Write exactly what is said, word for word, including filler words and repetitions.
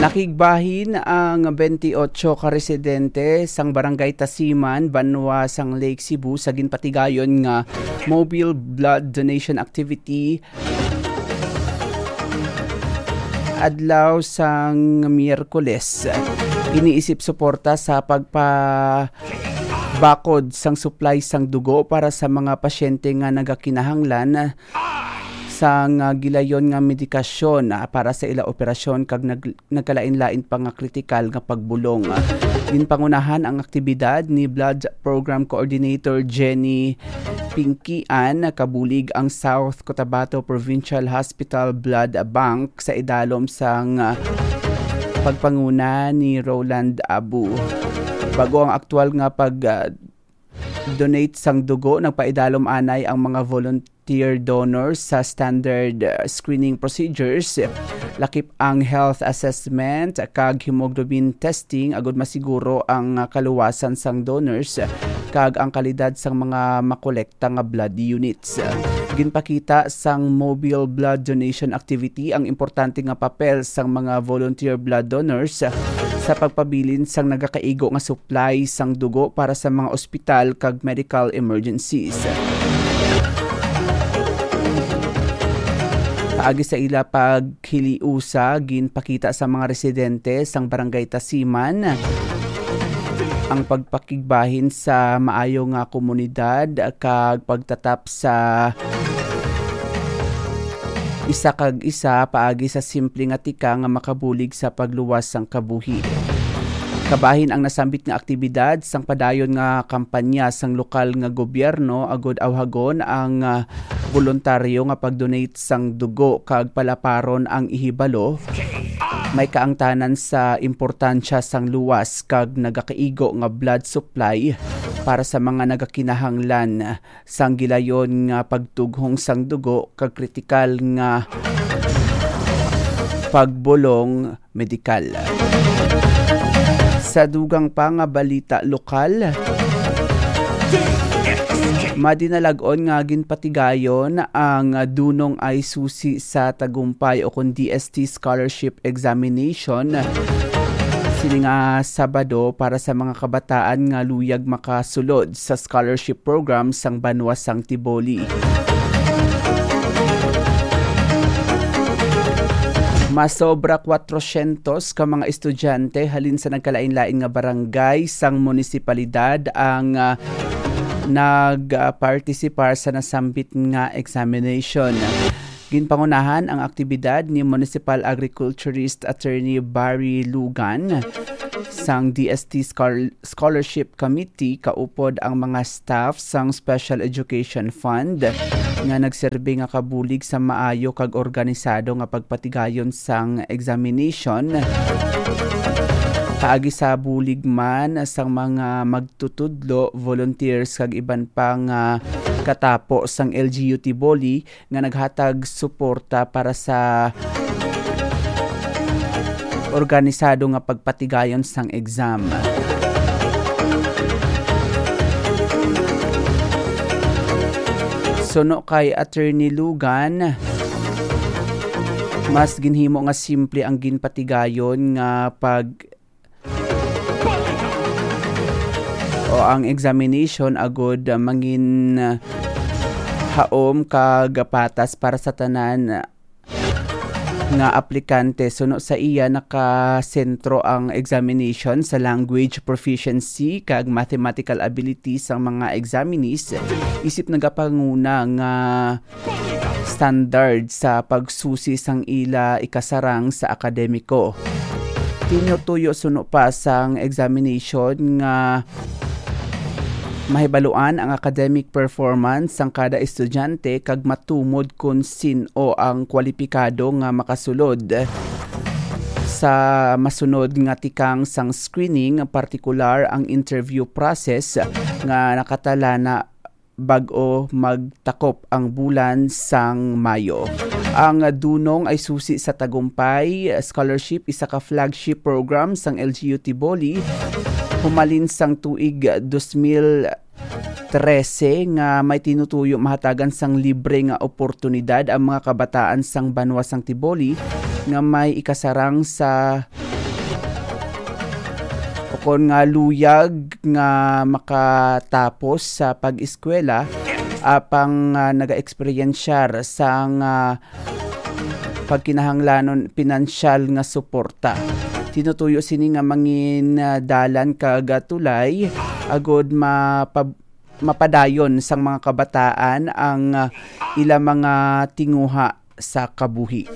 Nakigbahin ang twenty-eight ka residente sang Barangay Tasiman, banwa sang Lake Cebu, sa ginpatigayon nga mobile blood donation activity adlaw sang Miyerkules. Iniisip suporta sa pagpabakod sang supply sang dugo para sa mga pasyente nga nagakinahanglan sang, ah, gilayon nga medikasyon, ah, para sa ila operasyon kag nag-, nagkalain-lain pa nga kritikal nga pagbulong. Ginpangunahan ang aktibidad ni Blood Program Coordinator Jenny Pinkian. Kabulig ang South Cotabato Provincial Hospital Blood Bank sa idalom sang, ah, pagpanguna ni Roland Abu. Bago ang aktual nga pag, ah, donate sang dugo, nagpaidalom anay ang mga volunteer donors sa standard, uh, screening procedures, lakip ang health assessment kag hemoglobin testing, agud masiguro ang, uh, kaluwasan sang donors kag ang kalidad sang mga makolekta nga blood units. Ginpakita sang mobile blood donation activity ang importante nga papel sang mga volunteer blood donors sa pagpabilin sang nagakaigo nga supply sang dugo para sa mga ospital kag medical emergencies. Paagi sa ila paghiliusa, ginpakita sa mga residente sang Barangay Tasiman ang pagpakigbahin sa maayo nga komunidad kag pagtatap sa isa kag isa paagi sa simple nga tikang nga makabulig sa pagluwas sang kabuhi. Kabahin ang nasambit nga aktibidad sang padayon nga kampanya sang lokal nga gobyerno agud awhagon ang, ah, boluntaryo nga pag-donate sang dugo kag palaparon ang ihibalo. May kaangtanan sa importansya sang luwas kag nagakaigo nga blood supply para sa mga nagakinahanglan sang gilayon nga pagtughong sang dugo kag kritikal nga pagbulong medikal. Sa dugang pa nga balita lokal, madinalag-on nga ginpatigayon ang Dunong Ay Susi sa Tagumpay o kon D S T Scholarship Examination sini nga Sabado para sa mga kabataan nga luyag makasulod sa scholarship program sang banwa sang Tiboli. Masobra kwatrosyentos ka mga estudyante halin sa nagkalain-lain nga barangay sang munisipalidad ang, ah, nag-partisipar sa nasambit nga examination. Ginpangunahan ang aktibidad ni Municipal Agriculturist Attorney Barry Lugan sang D S T Schol-, Scholarship Committee, kaupod ang mga staff sang Special Education Fund nga nagserbi nga kabulig sa maayo kag organisado nga pagpatigayon sang examination. Paagi sa bulig man sang mga magtutudlo, volunteers kag iban pa nga katapo sang L G U Tiboli, nga naghatag suporta para sa organisado nga pagpatigayon sang exam. Suno kay Attorney Lugan, mas ginhimo nga simple ang ginpatigayon nga pag o ang examination agud, ah, mangin, ah, haom kag patas para sa tanan nga aplikante. Suno sa iya, nakasentro ang examination sa language proficiency kag mathematical ability sang mga examinees, isip nagapanguna nga standard sa pagsusi sang ila ikasarang sa akademiko. Tinutuyo suno pa sang examination nga mahibaluan ang academic performance sang kada estudyante kag matumod kon sin-o ang kwalipikado nga makasulod. Sa masunod nga tikang sang screening, partikular ang interview process nga nakatalana bag-o magtakop ang bulan sang Mayo. Ang Dunong Ay Susi sa Tagumpay Scholarship, isa ka flagship program sang L G U Tiboli. Humalin sang tuig dos mil trese nga may tinutuyo mahatagan sang libre nga oportunidad ang mga kabataan sang banwa sang Tiboli nga may ikasarang sa kon nga luyag nga makatapos sa pag-eskwela, apang, ah, nagaeksperyensyar sang, ah, pagkinahanglanon pinansyal nga suporta. Tinutuyo sini nga mangin, ah, dalan kag, ah, tulay agud mapab-, mapadayon sang mga kabataan ang, ah, ila mga tinguha sa kabuhi.